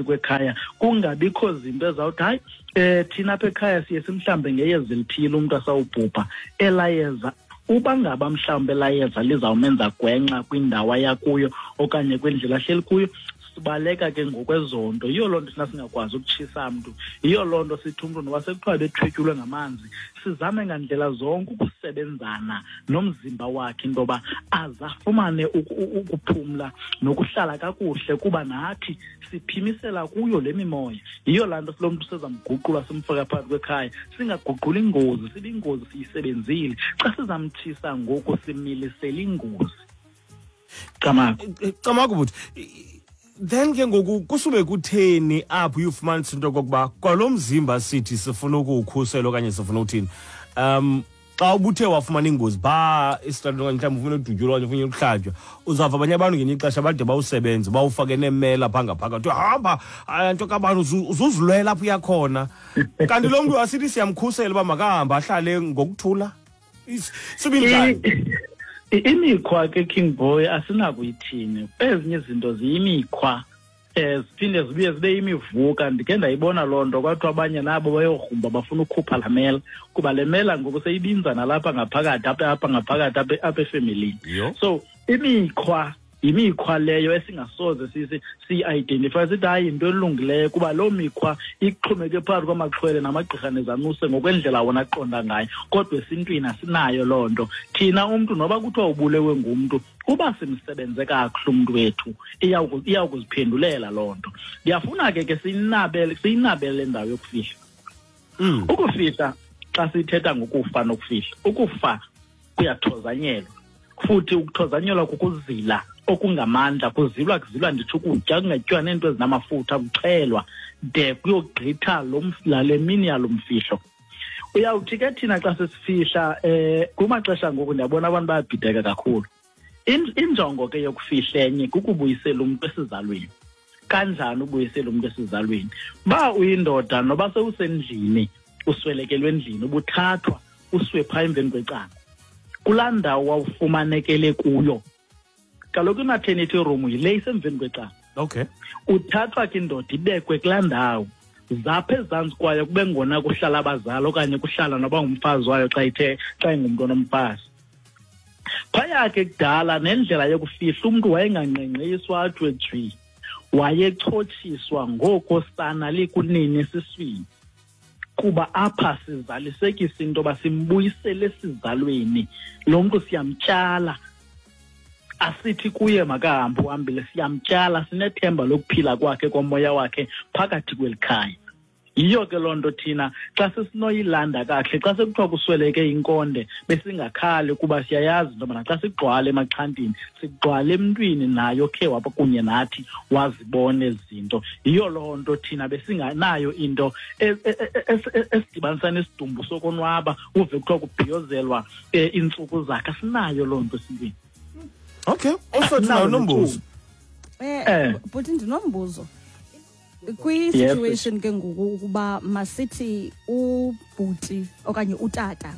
kwekhaya, kungabikho zinto ezawuthi hayi, thina apha ekhaya siye simhlambe ngeyeza elithile umntu asawubhubha. Elayeza uba ngaba mhlawumbi elayeza lizawumenza gwenxa kwindawo ayakuyo okanye kwindlela ahleli kuyo, sibaleka ke ngokwezonto. Yiyo loo nto thina singakwazi ukutshisa mntu, yiyo loo nto sithi umntu noba sekuthiwa bethwetyulwe ngamanzi, sizame ngandlela zonke ukusebenzana nomzimba wakhe into yoba aze afumane ukuphumla nokuhlala kakuhle, kuba nathi siphimisela kuyo le mimoya. Yiyo laa nto silo mntu sezamguqula simfaka phakathi kwekhaya, singaguquli ingozi, sibe ingozi siyisebenzile. Xa sizamtshisa ngoku similisela ingozi. Camagu. Camagu bhuti. Then ke ngoku kusube kutheni apho uyofumanisa into yokokuba kwalo mzimba sithi sifuna ukuwukhusela okanye sifuna uthini, xa ubuthe wafumana ingozi phaa esitratweni okanye mhlawumbi ufuna udutyulwa okanye ufuna ukuhlatywa, uzawuva abanye abantu ngelinye ixesha bade bawusebenze bawufake neemela phaa ngaphakathi, hamba nto kabani uzuzilwela apho uyakhona. Kanti lo mntu asithi siyamkhusela uba makahambe ahlale ngokuthula. Sibinjani? Imikhwa ke, King Boy, asinakuyithini. Ezinye izinto ziyimikhwa, ziphinde zibuye zibe yimivuka. Ndikhe ndayibona loo nto, kwathiwa abanye nabo bayogrumba bafuna ukhupha laa mela, kuba le mela ngoku seyibinza nalapha ngaphakathi, apha ngaphakathi, apha efemelini. So imikhwa yimikhwa leyo esingasoze siyi-identify sithi hayi yinto elungileyo, kuba loo mikhwa ixhomeke phakathi kwamaxhwele namagqirha nezanuse ngokwendlela wona aqonda ngayo. Kodwa esintwini asinayo loo nto thina. Umntu noba kuthiwa ubulewe ngumntu, uba simsebenze kakuhle umntu wethu, iyawukuziphendulela loo nto. Ndiyafuna ke siyinabele le ndawo yokufihla. Ukufihla, xa sithetha ngokufa nokufihla, ukufa kuyathozanyelwa, futhi ukuthozanyelwa kukuzila okungamandla. Kuzilwa, kuzilwa nditsho ukutya, kungatyiwa neento ezinamafutha, kuxhelwa de kuyogqitha lale mini yalo mfihlo. Uyawuthi ke thina xa sesifihla, kumaxesha ngoku ndiyabona abantu bayabhideka kakhulu. Injongo ke yokufihla enye kukubuyisela umntu esizalweni. Kanjani ubuyisela umntu esizalweni? Ba uyindoda noba sewusendlini, uswelekelwe endlini, ubuthathwa usiwe phaa emveni kwecango kulaa ndawo wawufumanekele kuyo. Kaloku i-maternity room yile isemveni kwecango. Uthathwa ke indoda ibekwe kulaa ndawo, zapha ezantsi kwayo kube ngona kuhlala abazali okanye kuhlala noba ngumfazi wayo xa ithe xa ingumntu onomfazi. Phaya ke kudala nendlela yokufihla umntu wayengangqengqiswa athiwe jwi, wayechotshiswa ngoko sana likunini esiswini, kuba apha sizalisekisa into yoba simbuyisele esizalweni lo mntu, siyamtyala. Asithi kuye makahambe uhambile, siyamtyala, sinethemba lokuphila kwakhe komoya wakhe phakathi kweli khaya. Yiyo ke loo nto thina xa sesinoyilanda kakuhle, xa sekuthiwa kusweleke inkonde, besingakhali, kuba siyayazi into yobana xa sigqwala emaxhantini sigqwala emntwini nayo khe wapha kunye nathi wazibona ezi zinto. Yiyo loo nto thina besinganayo into esidibanisa nesidumbu sokonwaba, uve kuthiwa kubhiyozelwa iintsuku zakhe. Asinayo loo nto esintwini. Okay, also nayo nombuzo. Bhuti, ndinombuzo. Kwi-situation ke ngoku ukuba masithi ubhuti okanye utata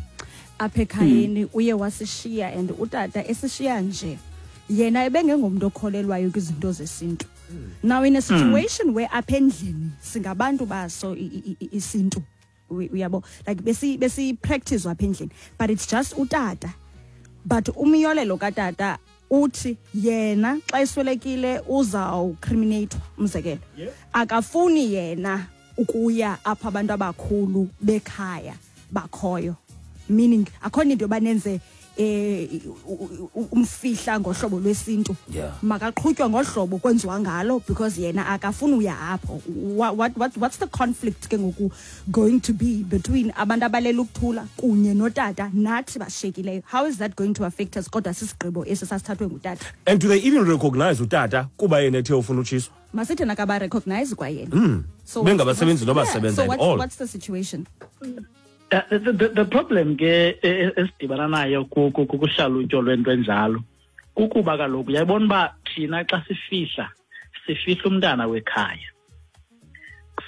apha ekhayeni uye wasishiya, and utata esishiya nje yena ebengengomntu okholelwayo kwizinto zesintu. Now in a situation where apha endlini singabantu baso isintu, uyabo, like besi practice apha endlini, but it's just utata, but umyolelo katata uthi yena xa eswelekile uzawucriminatwa, umzekelo, akafuni yena ukuya apha abantu abakhulu bekhaya bakhoyo, meaning akho into yoba nenze umfihla ngohlobo lwesintu, makaqhutywa ngohlobo kwenziwa ngalo, because yena akafuni uya apho. What's the conflict ke ngoku going to be between abantu abalela ukuthula kunye notata nathi bashiyekileyo? How is that going to affect us, kodwa sisigqibo esi sasithathwe ngutata? And do they even recognize utata kuba yena ethe ufuna utshiswa? Masithi nakaba-recognize kwayena. So bengabasebenzi noba sebenza so at all. What's the situation? The problem ke esidibana nayo kuhlalutyo lwento enjalo kukuba kaloku uyayibona uba thina xa sifihla, sifihla umntana wekhaya,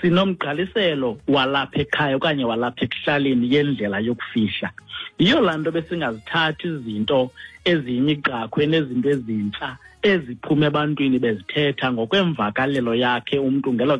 sinomgqaliselo walapha ekhaya okanye walapha ekuhlaleni yendlela yokufihla. Yiyo laa nto besingazithathi izinto eziyimigqakhwe nezinto ezintsha eziphuma ebantwini bezithetha ngokwemvakalelo yakhe umntu ngelo.